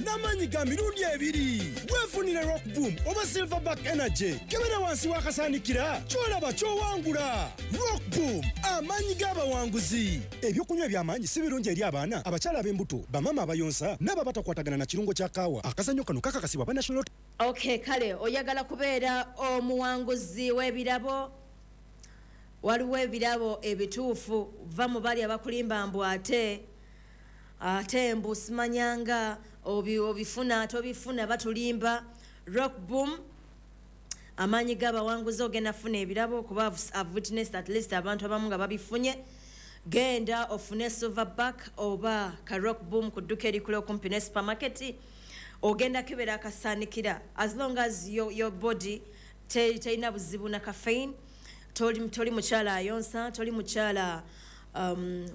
N'amaanyi ga mirundi ebiri. Weefunire Rock Boom oba Silverback Energy. Kebera wansi w'akasaanikira, ky'olaba ky'owangula. Rock Boom, amaanyi g'abawanguzi. Ebyokunywa eby'amaanyi si birungi eri abaana, abakyala ab'embuto, bamaama abayonsa n'abo abatakwatagana na kirungo kya kaawa. Akazannyo kano kakakasibwa aba National Okay, kale oyagala kubeera omuwanguzi w'ebirabo. Waliwo ebirabo ebituufu. Va mu bali abakulimba mbu ate mbu simanyanga obifuna tobifuna, batulimba. Rock Boom, amaanyi g'abawanguzi. Ogenda funa ebirabo kuba I've witnessed at least abantu abamu nga babifunye. Genda ofune Silverback oba ka Rock Boom ku dduka erikula okumpi ne supermarket. Ogenda kebera akasaanikira. As long as your body terina buzibu na caffeine, toli mukyala ayonsa, toli mukyala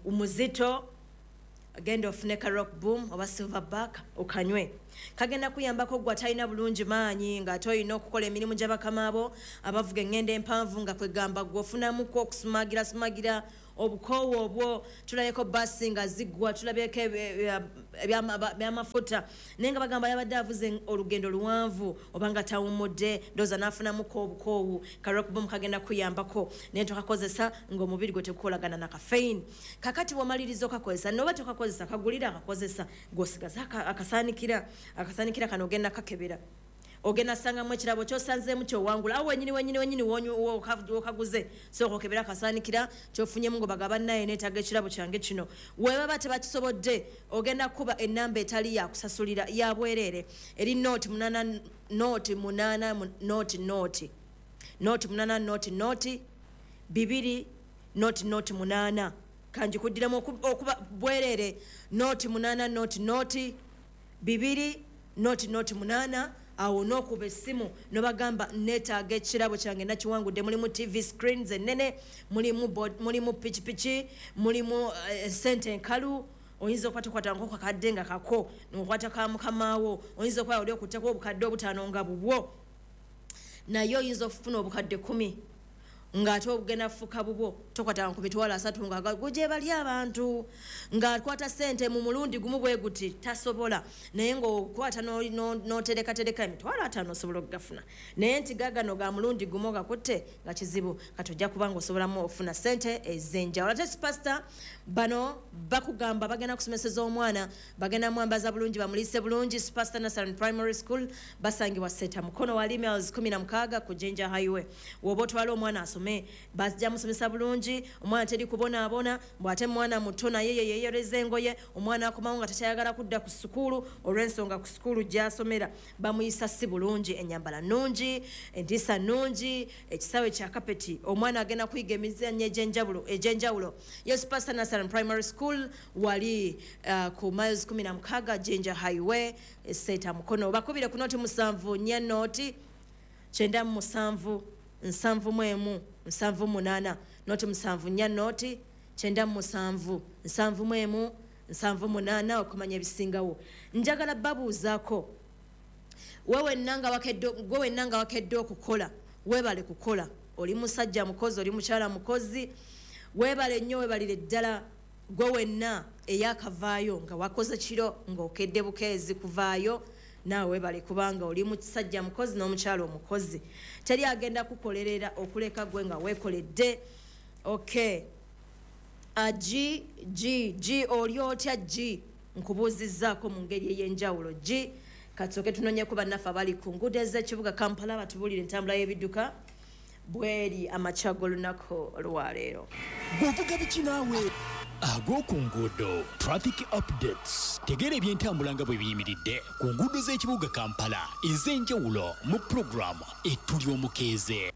muzito, genda ofune ka Rock Boom oba Silverback okanywe. Kagenda kuyambako gwe atalina bulungi maanyi, ng'ate olina okukola emirimu gy'abakama bo abavuga eŋŋendo empanvu, nga kwegamba gwe ofunamuku okusumagira sumagira obukoowu obwo. Tulabyeko basi nga ziggwa, tulabyeko ebyamafuta, naye nga bagamba yabadde avuze olugendo luwanvu oba nga tawummudde, ndowooza n'afunamuko obukoowu. Ka Rock Boom kagenda kuyambako, naye tokakozesa ng'omubiri gwe tekukolagana na caffeine. Kakati bw'omaliriza okakozesa, noba tokakozesa, kagulira akakozesa, gw'osigaza akasaanikira. Akasaanikira kano ogenda kakebera, ogenda sangamu ekirabo kyosanzeemu kyowangula. Awo wenyini wenyini wenyini wokaguze, sooka okebera akasaanikira kyofunyemu, ngo bagaba naye neetaaga ekirabo kyange kino. Webaba tebakisobodde, ogenda kuba enamba etali yakusasulira, ya bwereere, eri 08 0 8 0 0 0 8 0 0 2 0 0 8. Kanjikuddiramu okuba bwereere: 08 0 0 2 0 0 8. Awo n'okuba essimu nobagamba, "Neetaaga ekirabo kyange, nakiwangudde." Mulimu TV screens ennene, mulimu pikipiki, mulimu sente enkalu. Oyinza okuba tokwata nko kakadde nga kako, nokwata ka mukamaawo. Oyinza okuba oli okutteko obukadde 5 nga bubwo, naye oyinza okufuna obukadde 10 ng'ate obugenda fuka bubwo. Tokwatanga ku 30,000 nga gye bali abantu ng'akwata ssente mu mulundi gumu bwe guti, tasobola. Naye ng'okwata n'oterekatereka 50,000, osobola okugafuna. Naye nti gagano ga mulundi gumu gakutte nga kizibu. Kati ojja kuba ng'osobolamu ofuna ssente ez'enjawulo. Ate Superstar bano bakugamba bagenda kusomeseza omwana, bagenda mwambaza bulungi, bamuliise bulungi. Superstar Nursery Primary School basangibwa Seta Mukono, wali miles 16 ku Jinja Highway. Woba otwala omwana asome, bajja musomesa bulungi omwana, teri kubonaabona. Bw'ate mwana muto, naye ye yeeyereza engoye. Omwana akomawo nga takyayagala kudda ku sukulu olw'ensonga ku sukulu gy'asomera bamuyisa si bulungi. Enyambala nnungi, entiisa nnungi, ekisaawe kya kapeti, omwana agenda kuyiga emizannyo egy'enjawulo. Ye Superstar Nursery Primary School wali ku miles 16 Jinja Highway, Seeta Mukono. Bakubire ku 0 7 4 0 97 71 78, 0 7 4 0 97 71 78, okumanya ebisingawo. Njagala babuuzaako, gwe wenna nga wakedde okukola, weebale kukola. Oli musajja mukozi, oli mukyala mukozi, weebale nnyo, weebalire ddala. Gwe wenna eyakavaayo nga wakoze kiro, ng'okedde bukeezi kuvaayo, naawe weebale, kubanga oli musajja mukozi n'omukyala omukozi. Teri agenda kukolerera okuleka gwe nga weekoledde. Okay, G G G, oli otya G? Nkubuuzizzaako mu ngeri ey'enjawulo, G. Katusooke tunonyeku bannaffe abali ku nguudo ez'ekibuga Kampala, batubuulire entambula y'ebidduka bweri amakya g'olunaku lwaleero. Bw'ovuga biki naawe? Ag'oku nguudo, traffic updates. Tegeera ebyentambula nga bwe biyimiridde ku nguudo z'ekibuga Kampala ez'enjawulo mu pulogulaamu Etuli Omukeeze.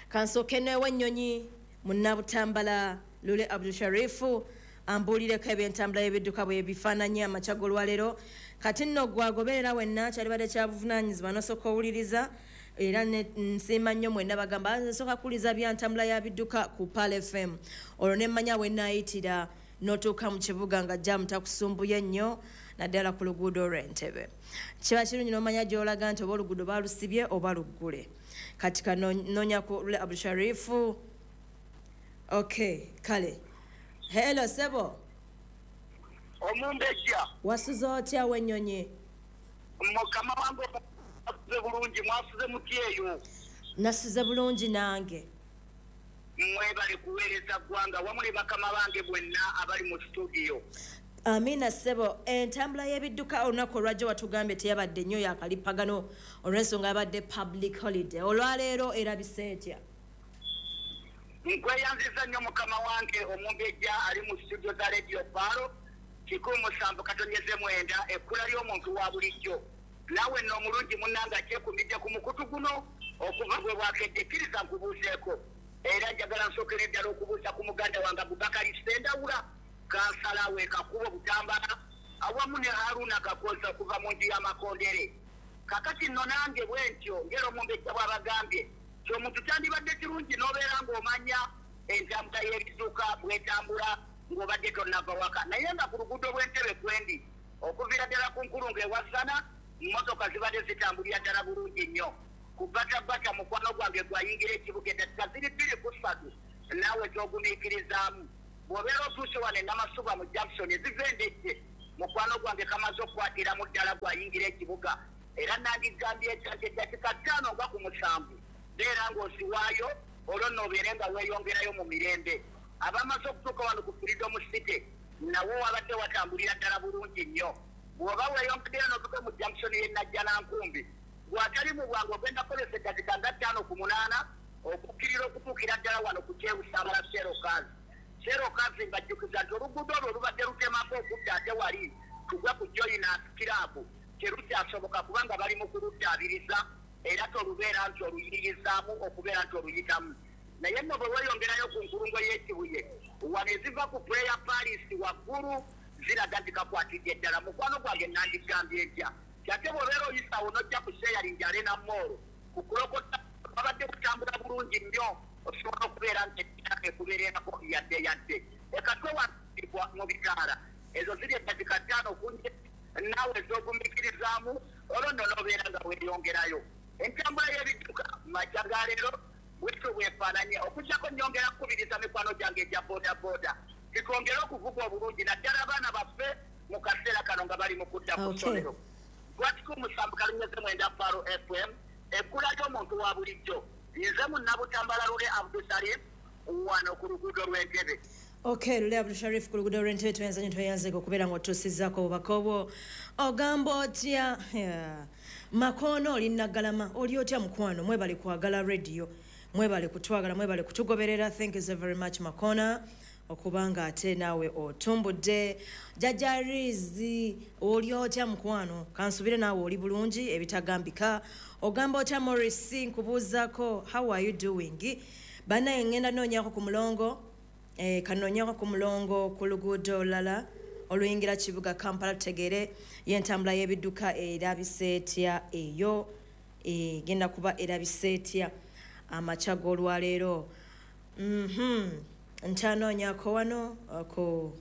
Kansooke neewa ennyonyi munnabutambala Lule Abdusharifu ambuulireko ebyentambula y'ebidduka bwe bifaananye amakya g'olwaleero. Kati nno gwagoberera wenna, kyalibadde kya buvunaanyizibwa nosooka owuliriza. Era nsiima nnyo mwenna bagamba, "Nsooka kuwuliriza byantambula ya bidduka ku Pearl FM," olwo nemmanya we naayitira n'otuuka mu kibuga nga jamu takusumbuye nnyo, naddala ku luguudo olw'Entebe. Kiba kirungi n'omanya gy'olaga nti oba oluguudo balusibye oba luggule. Kati kanonya ku Lule Abdusharifu. Okay, kale, hello sebo. Omumbejja. Wasuza otya w'ennyonyi? Mukama wange mwasuze bulungi, mwasuze mutya eyo? Nasuze bulungi nange. Mwebale kuweereza ggwanga wamu ne bakama bange bwenna abali mu studio. Amina ssebo. Entambula y'ebidduka olunaku olwajjo watugambye teyabadde nnyo yakalipagano olw'ensonga yabadde public holiday. Olwaleero erabise etya? Nkweyanziza nnyo mukama wange omumbejja ali mu studio za Radio Paro 17.9, ekkula ly'omuntu wa bulijjo. Naawe nno omulungi munnange akyekumidde ku mukutu guno okuva bwe bwakedde, kkiriza nkubuuzeeko. Era njagala nsookere ddala okubuuza ku muganda wange Abubakari Ssendawula, kansala we Kakubo Butambala, awamu ne Haruna Kakoza okuva mu nju y'Amakondere. Kakati nno nange bwe ntyo ngera omumbejja bw'abagambye nti omuntu kyandibadde kirungi n'obeera ng'omanya entambula y'ebidduka bw'etambula ng'obadde tonnava waka. Naye nga ku luguudo lw'Entebe kwendi okuviira ddala ku nkulungo ewasana, mmotoka zibadde zitambulira ddala bulungi nnyo. Ku Bbatabata mukwano gwange gwayingira ekibuga eddakiika ziri 2 ku 3, naawe z'ogumiikirizaamu. Bw'obeera otuuse wano e Namasuba mu junction eziva Endejje, mukwano gwange kamaze okukwatiramu ddala gwayingira ekibuga. Era nandigambye ekya nti eddakiika 5 nga ku 7 beera ng'osiwaayo, olwo nno obeere nga weeyongerayo mu mirembe. Abamaze okutuuka wano ku Freedom City nawo wabadde watambulira ddala bulungi nnyo. Bw'oba weeyongeddeyo n'otuuka mu junction y'e Najjanankumbi, bw'atali mu bwangu ogenda kukozesa eddakiika nga 7 ku 8 okukkirira okutuukira ddala wano ku Kyebusabala Serokazi. Serokazi mbajjukiza nti oluguudo olwo olubadde lutemako okudda ate wali tugwa ku Joinas Club terukyasoboka kubanga bali mu kuluddaabiriza, era tolubeera nti oluyiyizaamu okubeera nti oluyitamu. Naye nno bwe weeyongerayo ku nkulungo y'Ekibuye wano eziva ku Prayer Paris waggulu ziraga nti kakwatidde ddala. Mukwano gwange nandigambye ntya kyate bw'obeera oyisawo n'ojja ku Sharing Arena Mall ku Kulokota babadde kutambula bulungi nnyo, osobola okubeera nti ekubeererako yadde yadde ekatwe waibwa mu bitaala ezo ziri eddakiika 5 okunje naawe ez'ogumiikirizaamu, olwo nno n'obeera nga weeyongerayo. Entambula y'ebidduka makya ga leero bwetyo bwefaananye, okuggyako nnyongera kukubiriza mikwano gyange egya boda boda titwongere okuvuga obulungi, naddala abaana baffe mu kaseera kano nga bali mu kudda ku ssomero. Lwakika 7.9 Faro FM, ekkula ly'omuntu wa bulijjo. Nze Munnabutambala Lule Abdusalim wano ku luguudo lw'Entebe. Okay, Lule Abdusharif ku luguudo lw'Entebe, tweyanza nnyo, tweyanzeko okubeera ng'otuusizzaako obubaka obwo. Ogamba otya? Yeah. Makono oli Naggalama, oli otya mukwano? Mwebale kwagala radio, mwebale kutwagala, mwebale kutugoberera. Thank you so very much Makona okubanga ate naawe otumbudde. Jajja Rizi, oli otya mukwano? Kansubire naawe oli bulungi ebitagambika. Ogamba otya Morris? Nkubuuzaako, how are you doing? Bannaye ngenda noonyako ku mulongo, kanoonyako ku mulongo ku luguudo olulala oluyingira kibuga Kampala, tutegeere y'entambula y'ebidduka erabise etya eyo, egenda kuba erabise etya amakya g'olwaleero. Nkyanoonyako wano ku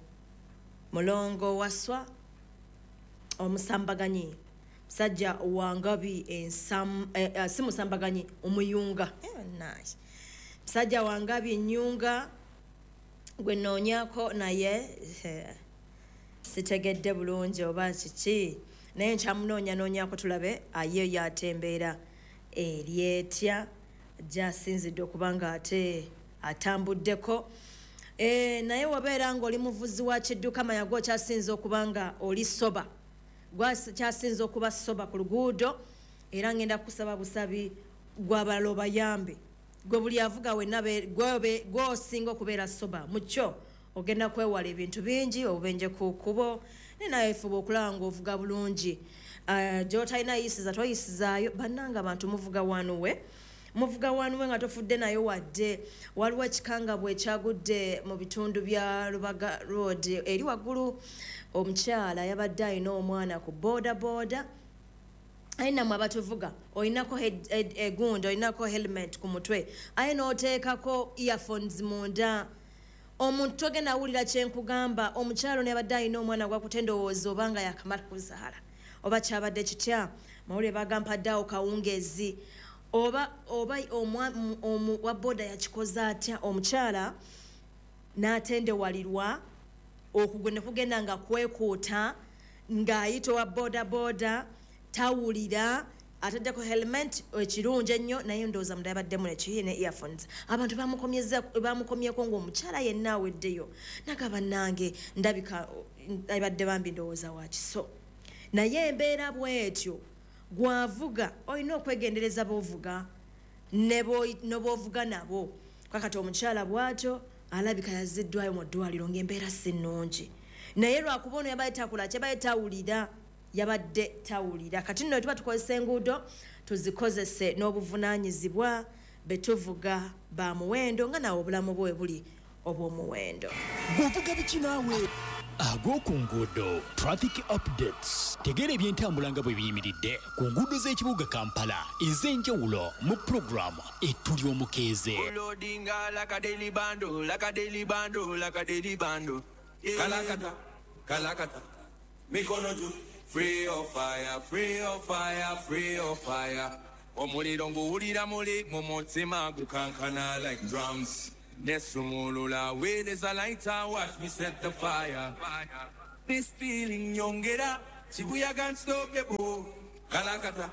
mulongo Waswa omusambaganyi, musajja wangabi ensam, si musambaganyi, omuyunga, nice. Musajja wangabi ennyunga gwe noonyako, naye sitegedde bulungi oba kiki, naye nkyamunoonyanoonyako tulabe aye yatembeera eryetya gyasinzidde okuba nga ate atambuddeko. Naye wabeera ng'oli muvuzi wa kidduka, manya gwokyasinza okuba nga oli sober, gwakyasinza okuba sober ku luguudo. Era ngenda kusaba busabi gwabalala obayambe, gwe buli avuga wenna gwosinga okubeera sober mukyo, ogenda kwewala ebintu bingi, obubenje ku kkubo. Naye nawe fuba okulaba ng'ovuga bulungi. Gy'otalina yisiza toyisizaayo. Bannanga abantu muvuga wanuwe, muvuga wanuwe nga tofudde nayo wadde. Waliwo ekikanga bwe kyagudde mu bitundu bya Lubaga Road eri waggulu. Omukyala yabadde alina omwana ku boda boda. Aye nammwe abatuvuga, olinako egundi, olinako helmet ku mutwe, aye n'oteekako earphones munda, omuntu togenda awulira kyenkugamba. Omukyalo neyabadde alina omwana gwakute, ndowooza obanga yakamala kuzaala oba kyabadde kitya, mawulire bagampadde awo kawungeezi, oba wa boda yakikoze atya, omukyala n'atendewalirwa okugwe ne kugenda nga kwekuuta ng'ayita owa boda boda. Tawulira, ataddeko helmet ekirungi ennyo, naye ndowooza munda yabaddemu neki ne earphones. Abantu bamukomyeko ng'omukyala yenna aweddeyo, nagaba nange ndabika abadde bambi ndowooza wakiso. Naye embeera bwetyo, gwavuga olina okwegendereza b'ovuga ne b'ovuga nabo. Kakati omukyala bw'atyo alabika yazziddwayo mu ddwaliro ng'embeera si nnungi, naye lwakuba ono yabadde takula, kyabadde tawulira, yabadde tawulira. Kati nno tuba tukozesa enguudo, tuzikozese n'obuvunaanyizibwa. Betuvuga ba muwendo nga naawe obulamu bwe buli obw'omuwendo. Gwovuga biki naawe? Ag'oku nguudo, traffic updates. Tegeera ebyentambula nga bwe biyimiridde ku nguudo z'ekibuga Kampala ez'enjawulo mu pulogulaamu Etuli Omukeeze. Loadinga like a daily bando, like a daily bando, like a daily bando. Yeah. Kalakata, kalakata, mikono juu. Free of fire, free of fire, free of fire. Omuliro nguwulira muli mu mutima gukankana like drums. Nesumulula with is a lighter, watch me set the fire. This feeling nyongera, chibuyaga unstoppable. Kalakata,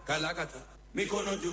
kalakata, mikono juu.